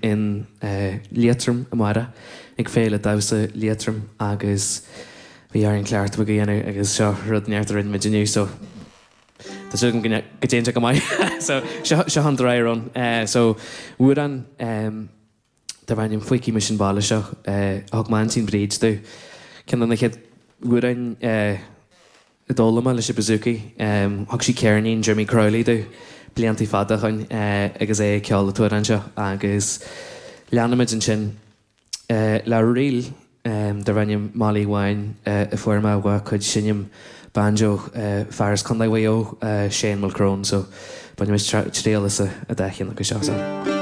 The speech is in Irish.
In Liatroim amárach ag Féile Damhsa Liatroim agus bhí orainn cleachtadh beag a dhéanamh agus seo rud inteacht a rinne muid inniu so tá súil agam go dtéann sé go maith. So seo seo an dry run. So amhrán darb ainm Feicfidh Mise an Baile Seo a thug m'aintín Bríd domh. Ceann de na chéad amhráin a d'fhoghlaim mé leis an bouzouki. Thug sí ceirnín Jimmy Crowley domh bliantaí fada ó shoin agus é ag ceol an t-amhrán seo agus leanfaimid ansin le ríl darb ainm Molly Bháin a fuair mé ó chuid seinm banjo fear as Contae Mhaigh Eo, Shane Mulcrone so bainfimid triail as an dá cheann acu seo.